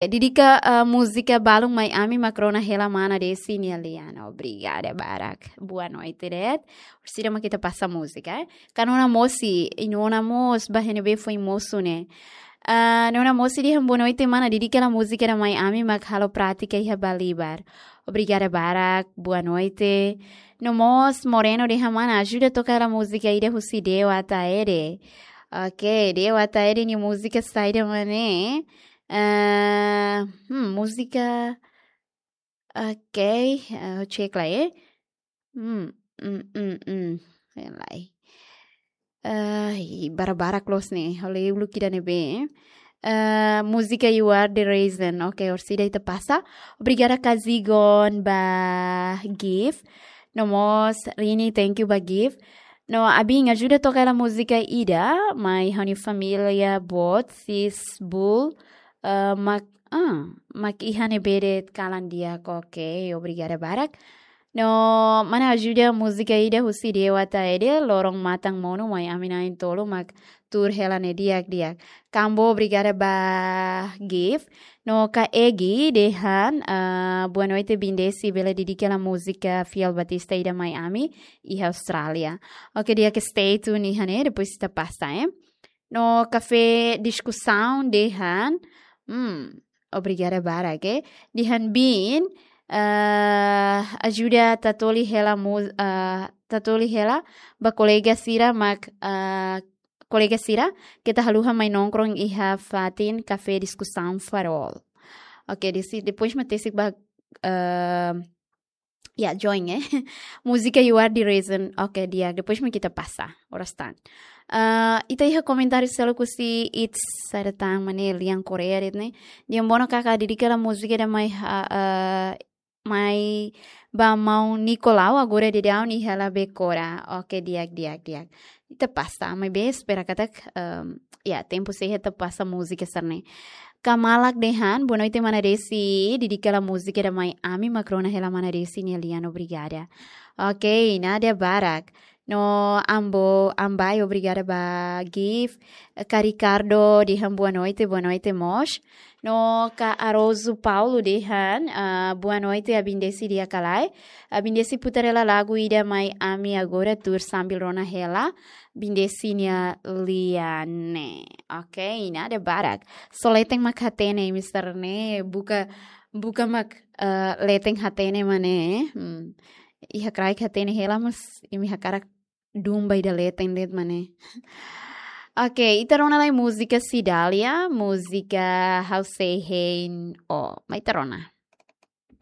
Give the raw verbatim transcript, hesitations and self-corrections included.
Dedika, ah, múzika balun mai ami mak rona hela mana Desi nia lian. Obrigada barak. Boa noite, Red. Orsida mak ita pasa múzika, eh. Ka Nona Mosi, i Nona mós ba N B foin mosu ne'e. Ah, Nona Mosi dehan boa noite, mana. Dedika hela múzika ida mai ami mak halo prátika iha Balibar. Obrigada barak. Boa noite. No mós Moreno dehan mana, ajuda toka hela múzika ida husi Deo Ataede. Ok, Deo Ataede nia múzika saida mak ne'e? Ah, hmm, múzika. Ok, ah, check lai, eh. Hmm, hmm, hmm, hmm. Lai. Ah, i barak-barak loos ne'e. Halo uluk ida ne'ebé, eh. Ah, múzika You Are the Reason. Ok, orsida ita pasa. Obrigada Kazigon ba gift. No mós Rini, thank you ba gift. No, Abin, ajuda toka hela múzika ida mai ha'u-nia família boot, sis, bul, eh, mak, ah, mak iha ne'ebé de'it kalan di'ak. Ok, obrigada barak. No, mana ajuda múzika ida husi Deo Ataede, Loron Matan Monu, mai ami na'in-tolu mak tuur hela ne'e di'ak-di'ak. Kambo, obrigada ba gift. No, Ka Egi dehan, ah, boa noite, Bin Desi, bele dedika hela múzika Fiel Batista ida mai ami iha Austrália. Ok, di'ak, stay tune iha ne'e, depois ita pasa, eh. No, Kafé Diskusaun dehan, hmm, obrigada barak, eh. Dehan Bin, ah, ajuda tatoli hela mu-, ah, tatoli hela ba kolega sira mak, ah, kolega sira, keta haluha mai nongkrong iha fatin Kafé Diskusaun Farol. Ok, Desi, depois mak tesik ba, ah, ya, join, eh. Múzika You Are the Reason. Ok, di'ak, depois mak ita pasa. Oras tan. Ah, ita iha komentáriu seluk husi It's Saratan, mana, lian Korea de'it ne'e. Dehan bono karik, dedika hela múzika ida mai, ah, ah, mai ba maun Nicolau, agora daudaun iha La Becora. Ok, di'ak, di'ak, di'ak. Ita pasa, maibé espera katak, ehm, ya, tempu sei hetan pasa múzika sira-ne'e. Ka Malak dehan, boa noite, mana Desi, dedika hela múzika ida mai ami mak rona hela mana Desi nia lian, obrigada. Ok, nada barak. No, Ambo, Ambai, obrigada ba gift. Ka Ricardo dehan boa noite, boa noite mós. No, Ka Arozu Paulo dehan, ah, boa noite, Abin Desi di'ak ka lae. Abin Desi putar hela lagu ida mai ami agora tuur sambil rona hela Bin Desi nia lian ne'e. Ok, nada barak. Só leten mak hatene, mister ne'e. Buka, buka mak, eh, leten hatene, mana, eh. Hmm. Iha kraik hatene hela, mas imi hakarak dun ba ida leten de'it, mana. Ok, ita rona lai múzika Cidália, múzika Ha'u Sei Hein Ó. Mai ita rona.